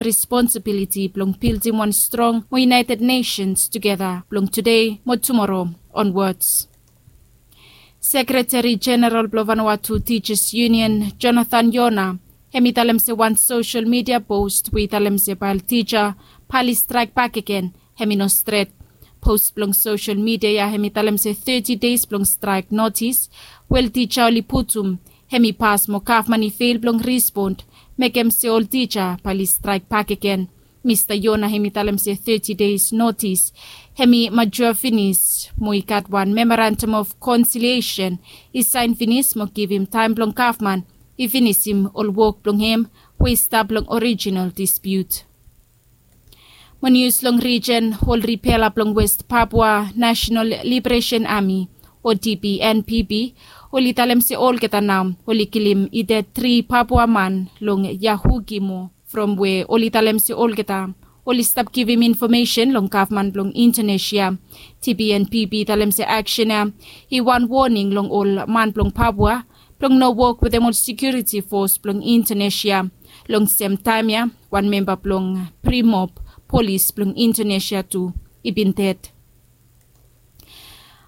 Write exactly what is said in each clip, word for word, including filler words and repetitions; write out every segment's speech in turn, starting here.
responsibiliti blong bildim wan strong mo United Nations tugeta blong tude mo tumoro onwards. Sekretari Jeneral blong Vanuatu Teachers Union, Jonathan Yona, hem i talem se wan sosel midia post we i talem se bae ol tija bae oli straek bakegen, hem i no stret. Post blong sosel midia ya hem i talem se teti deis blong straek notis we ol tija oli putum, hem i pas mo gavman i fel blong respond, mekem se ol tija bae oli straek bakegen. Mista Yona hem i talem se teti deis notis hem i majua finis mo i gat wan memorandum of konsiliesen i saen finis mo givim taem blong gavman i finisim ol wok blong hem we i stap long orijinal dispiut. Mo nius long rijen, ol ripela blong West Papua National Liberation Army o D P N P B, oli talem se olgeta nao oli kilim i ded tri Papua man long Yahukimo, from we oli talem se olgeta oli stap givim infomesen long gavman blong Indonesia. D P N P B i talem se aksen ya i wan woning long ol man blong Papua blong no wok wetem ol sekiuriti fos blong Indonesia. Long sem taem ya, wan memba blong Brimob polis blong Indonesia tu i bin ded.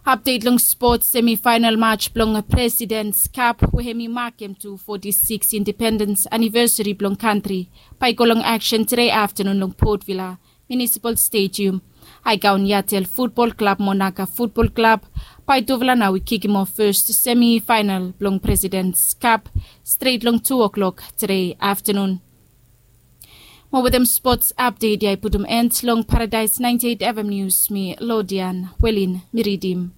Apdet long spot, semifaenal maj blong Presidents Cup we hem i makem tu foti sikis indipendens anivesari blong kantri bae i go long aksen tede aftanun long Port Vila Municipal Stadium. Aegaon Yatel Futbol Klab mo Naga Futbol Klab bae tufala nao i kikim of fes semifaenal blong Presidents Cup stret long tu o'klok tede aftanun. Mo wetem spots apdet ya i putum en long Paradaes naenti eit F M Nius, mi Lodian Welin mi ridim.